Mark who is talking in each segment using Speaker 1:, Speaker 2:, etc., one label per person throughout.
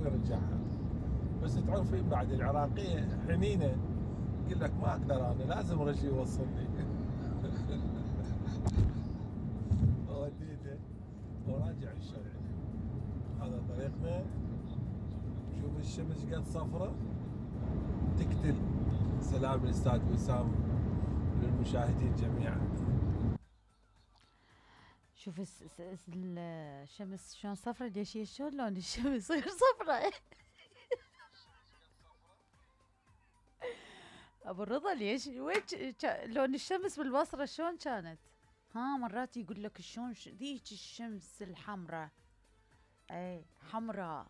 Speaker 1: شلون يرجعها؟ بس تعرفين بعد العراقية حنينة، يقول لك ما اقدر انا لازم رجلي يوصلني. وديته وراجع الشارع. هذا طريقنا. شوف الشمس قد صفرة تقتل. سلام الاستاذ وسام للمشاهدين جميعا.
Speaker 2: شوف الشمس شلون صفرة. ليش هي شلون لون الشمس غير صفرة؟ ابو الرضا ليش وين لون الشمس بالبصرة شلون كانت؟ مرات يقول لك شلون ذيك الشمس الحمراء، اي حمراء.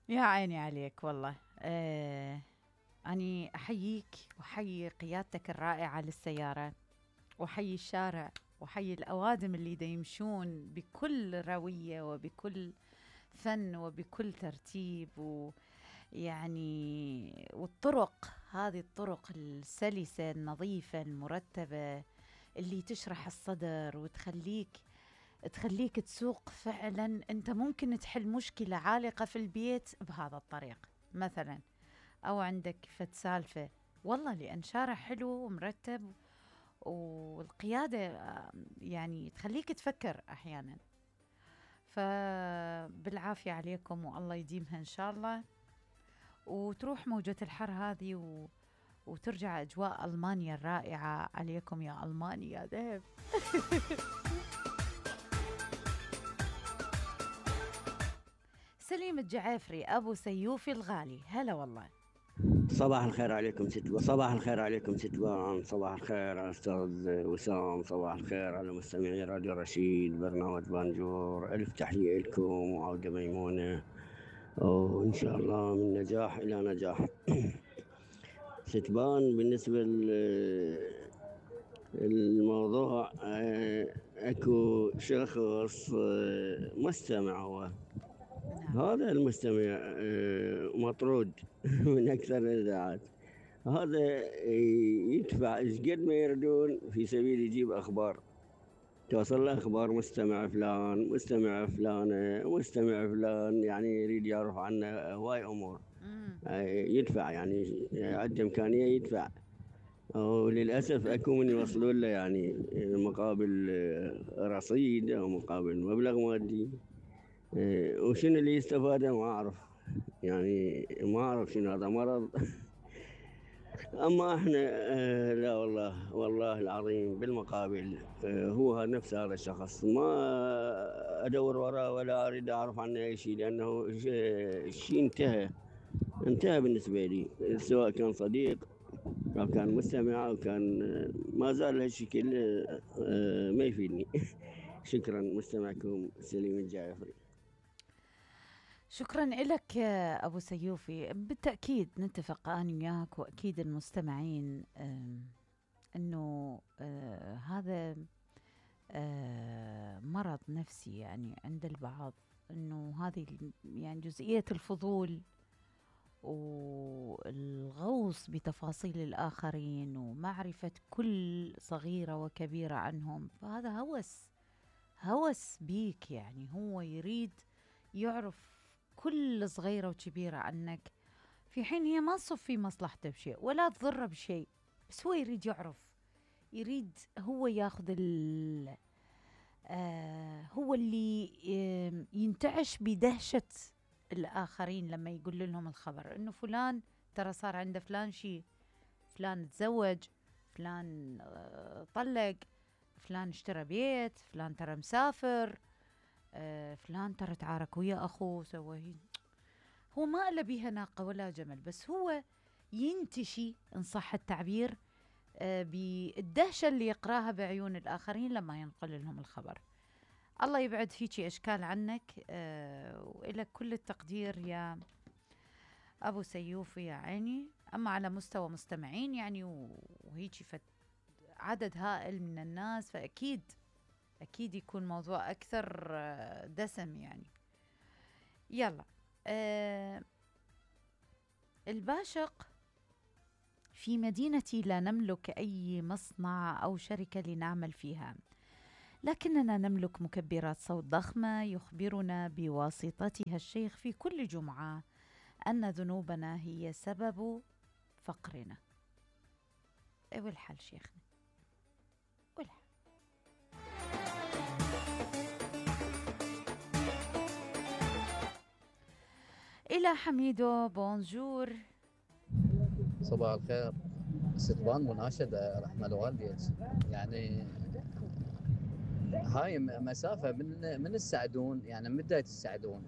Speaker 2: يا عيني عليك والله. اني احييك واحيي قيادتك الرائعة للسيارة، وحي الشارع، وحي الأوادم اللي دا يمشون بكل روية وبكل فن وبكل ترتيب، ويعني والطرق هذه الطرق السلسة النظيفة المرتبة اللي تشرح الصدر وتخليك تسوق فعلا. انت ممكن تحل مشكلة عالقة في البيت بهذا الطريق مثلا، او عندك فد سالفة والله لأن شارع حلو ومرتب، والقيادة يعني تخليك تفكر أحيانا. فبالعافية عليكم والله يديمها إن شاء الله، وتروح موجة الحر هذه وترجع أجواء ألمانيا الرائعة عليكم يا ألمانيا ذهب. سليم الجعافري أبو سيوفي الغالي، هلا والله.
Speaker 3: صباح الخير عليكم ستوان، صباح الخير عليكم ستوان، صباح الخير على أستاذ وسام، صباح الخير على مستمعي راديو رشيد برنامج بانجور. ألف تحية لكم وعودة ميمونة، وإن شاء الله من نجاح إلى نجاح. ستبان بالنسبة للموضوع، أكو شخص مستمع، هو هذا المستمع مطرود من أكثر الإذاعات. هذا يدفع إيش قد ما يردون في سبيل يجيب أخبار، توصل له أخبار مستمع فلان، مستمع فلانة، مستمع فلان، يعني يريد يعرف عنه هواي أمور. يدفع يعني عنده إمكانية يدفع، وللأسف أكو من يوصلون له يعني مقابل رصيد أو مقابل مبلغ مادي. وشنو اللي يستفاده ما أعرف، يعني ما أعرف شنو هذا مرض. أما إحنا لا والله العظيم بالمقابل هو نفس هذا الشخص ما أدور وراه ولا أريد أعرف عنه أي شيء، لأنه الشيء انتهى بالنسبة لي، سواء كان صديق أو كان مستمع أو كان ما زال هالشكل ما يفيدني. شكرا. مستمعكم سليم الجعافري.
Speaker 2: شكرا لك أبو سيوفي. بالتأكيد نتفق أنا وياك وأكيد المستمعين أنه هذا مرض نفسي يعني عند البعض، أنه هذه يعني جزئية الفضول والغوص بتفاصيل الآخرين ومعرفة كل صغيرة وكبيرة عنهم، فهذا هوس بيك، يعني هو يريد يعرف كل صغيرة وكبيرة عنك، في حين هي ما تصف في مصلحته بشيء ولا تضره بشيء، بس هو يريد يعرف، يريد هو ياخذ هو اللي ينتعش بدهشة الآخرين لما يقول لهم الخبر إنه فلان ترى صار عنده فلان شيء، فلان تزوج، فلان طلق، فلان اشترى بيت، فلان ترى مسافر، فلان ترى تعارك ويا أخوه سوى. هو ما إلا بيها ناقة ولا جمل، بس هو ينتشي إن صح التعبير بالدهشة اللي يقراها بعيون الآخرين لما ينقل لهم الخبر. الله يبعد فيكي أشكال عنك، وإلى كل التقدير يا أبو سيوفي يا عيني. أما على مستوى مستمعين يعني وهيجي عدد هائل من الناس، فأكيد يكون موضوع أكثر دسم يعني. يلا الباشق: في مدينتي لا نملك أي مصنع أو شركة لنعمل فيها، لكننا نملك مكبرات صوت ضخمة يخبرنا بواسطتها الشيخ في كل جمعة أن ذنوبنا هي سبب فقرنا. والحل شيخنا والحل. إلى حميدو بونجور.
Speaker 4: صباح الخير. استقبال مناشدة رحمة الوالدين، يعني هاي مسافة من السعدون، يعني من بداية السعدون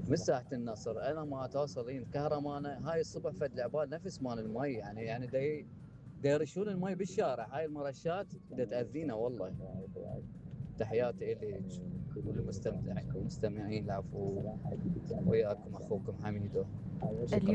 Speaker 4: من ساحة النصر أنا ما توصلين كهرمانة. هاي الصبح فد العباد نفس مال المي، يعني دي يرشون المي بالشارع. هاي المرشات دا تأذينا والله. تحياتي إلي والمستمعين. العفو، وياكم أخوكم حميدو.